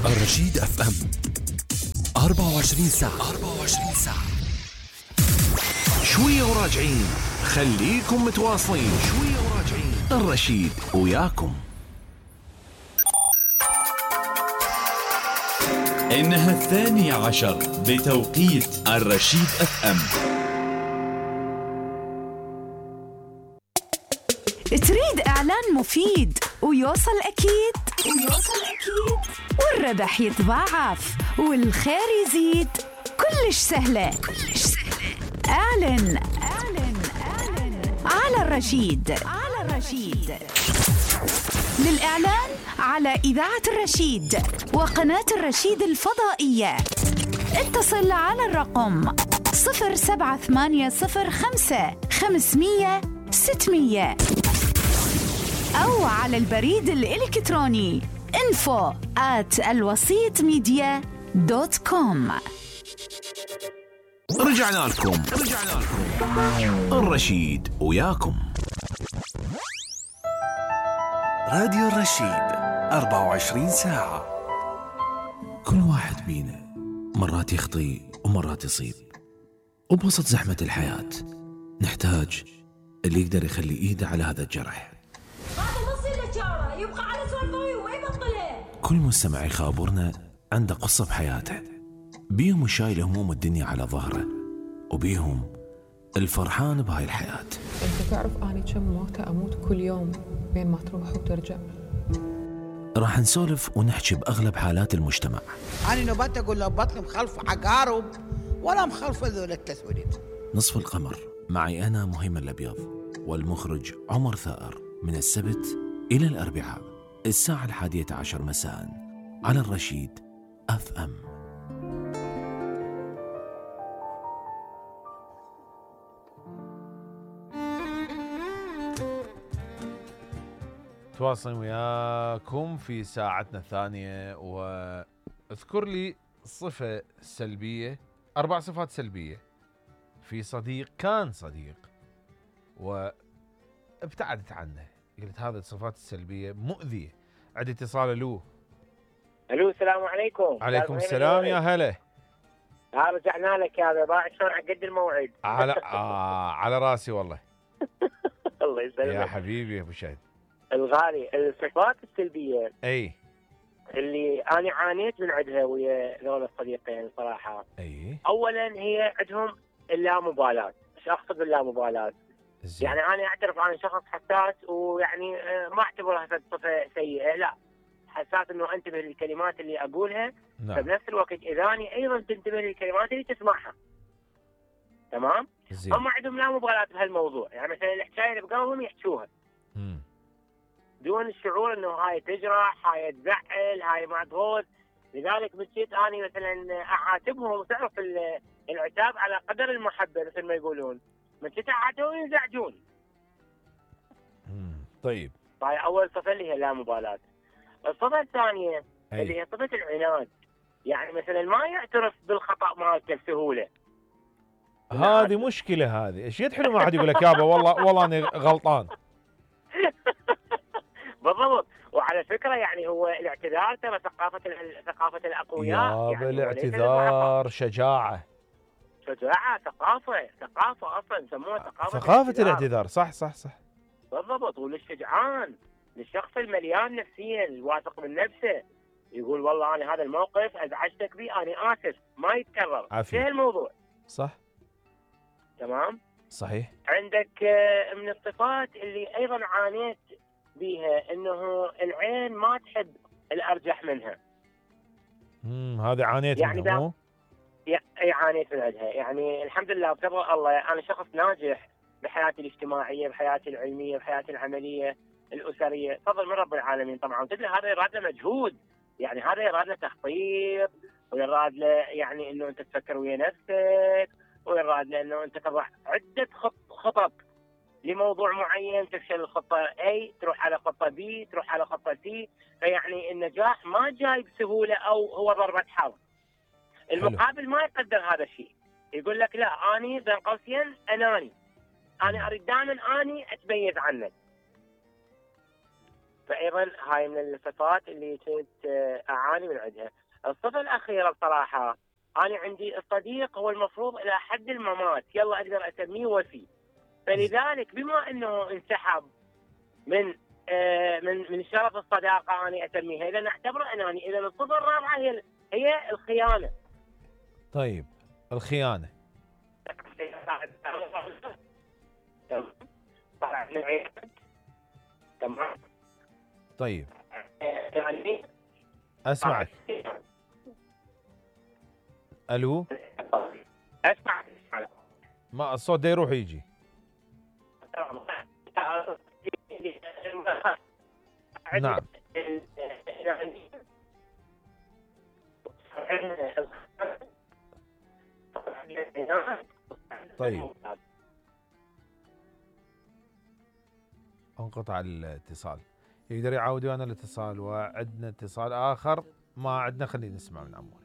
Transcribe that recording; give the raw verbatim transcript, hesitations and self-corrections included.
الرشيد اف ام أربعة وعشرين ساعة أربعة وعشرين ساعة. شوية وراجعين، خليكم متواصلين. شوية وراجعين، الرشيد وياكم. إنها الثانية عشر بتوقيت الرشيد اف ام. تريد إعلان مفيد ويوصل أكيد ويوصل أكيد والربح يتضاعف والخير يزيد؟ كلش سهلة كلش سهلة. اعلن اعلن اعلن على الرشيد على الرشيد. للإعلان على إذاعة الرشيد وقناة الرشيد الفضائية اتصل على الرقم صفر سبعة ثمانية صفر خمسة خمسمية ستمية أو على البريد الإلكتروني info at الوسيط ميديا دوت كوم. رجعنا لكم رجعنا لكم الرشيد وياكم. راديو الرشيد أربعة وعشرين ساعة. كل واحد بينا مرات يخطي ومرات يصيب، وبوسط زحمة الحياة نحتاج اللي يقدر يخلي إيده على هذا الجرح. هذا نص الاشاره يبقى على سوالفه ويبطلها. كل مستمع يخابرنا عنده قصة بحياته، بيهم شايل هموم الدنيا على ظهره، وبيهم الفرحان بهاي الحياة. انت تعرف اني كم موتة اموت كل يوم بين ما تروح وترجع. راح نسولف ونحكي بأغلب حالات المجتمع. أنا نبات أقول له بطني مخلفة عقارب ولا مخلفة ذول التسوليف. نصف القمر معي أنا مهيمن الأبيض والمخرج عمر ثائر، من السبت إلى الأربعاء الساعة الحادية عشر مساء على الرشيد اف ام. تواصل وياكم في ساعتنا الثانية، واذكر لي صفة سلبية، أربع صفات سلبية في صديق كان صديق وابتعدت عنه، قلت هذه الصفات السلبية مؤذية. عندي اتصال. له الو السلام عليكم. عليكم السلام يا هلا. ها رجعنا لك يا ضاع شلون عقد الموعد. على آه على راسي والله. الله يسلمك يا حبيبي يا ابو شهد الغالي. الصفات السلبيه اي اللي انا عانيت من عندها ويا ذول الصديقين صراحه. اي اولا هي عندهم اللامبالاه. ايش اقصد باللامبالاه؟ يعني انا اعترف انا شخص حساس، ويعني ما اعتبرها صفه سيئه، لا، حساس انه انتبه للكلمات اللي اقولها. نعم. فبنفس الوقت اذا اني ايضا تنتبه للكلمات اللي تسمعها. تمام؟ زين. هم عندهم لا مبالاه بهالموضوع، يعني مثلا الحكايه اللي بقلبهم يحكوها امم دون الشعور انه هاي تجرح، هاي تزعل، هاي مضغوط. لذلك بصيت اني مثلا اعاتبهم، وتعرف العتاب على قدر المحبه مثل ما يقولون، من كنت اعاتبهم ينزعجون. امم طيب. هاي اول صفه اللي هي لا مبالاه. الصفه الثانيه أي. اللي هي صفه العناد، يعني مثلا ما يعترف بالخطا مالته بسهوله. هذه مشكلة. هذه ايش يد حلو ما حد يقول لك يابا والله والله انا غلطان. بالضبط. وعلى فكره يعني هو الاعتذار ترى ثقافه ثقافه الاقوياء. يابا يعني الاعتذار شجاعة. شجاعه، ثقافه ثقافه اصلا يسموها ثقافه ثقافة الاعتذار. صح صح صح. بالضبط. وللشجعان، للشخص المليان نفسيا الواثق من نفسه، يقول والله انا هذا الموقف ازعجتك به، انا اسف، ما يتكرر. عافية. في الموضوع. صح. تمام. صحيح. عندك من الصفات اللي ايضا عانيت بيها انه العين ما تحب الارجح منها. امم هذا عانيت يعني منها مو؟ اي عانيت من عندها. يعني الحمد لله بفضل الله انا شخص ناجح بحياتي الاجتماعيه، بحياتي العلميه، بحياتي العمليه الاسريه، فضل من رب العالمين طبعا. تدري هذا يراد له مجهود، يعني هذا يراد له تخطيط، ويراد له يعني انه انت تفكر ويا نفسك، ويراد له انه انت تضع عده خطط لموضوع معين، تفشل الخطه A تروح على خطه B تروح على خطه C. فيعني النجاح ما جاي بسهوله او هو ضربه حظ. المقابل ما يقدر هذا الشيء، يقول لك لا اني بين قوسين اناني، انا اريد دائما اني اتميز عنك. فايضا هاي من الصفات اللي كنت اعاني من عندها. الصفه الاخيره بصراحه، انا عندي الصديق هو المفروض الى حد الممات يلا اقدر اسميه وفي، فلذلك بما انه انسحب من آه من من شرف الصداقه انا اسميها، اذا نعتبره اناني. اذا الصفه الرابعه هي هي الخيانه. طيب الخيانه تمام. طيب يعني اسمعك. الو اسمع. ما الصوت ده يروح يجي. نعم. طيب انقطع الاتصال، يقدر يعاود ويانا الاتصال، وعندنا اتصال اخر ما عندنا، خلينا نسمع من عموري.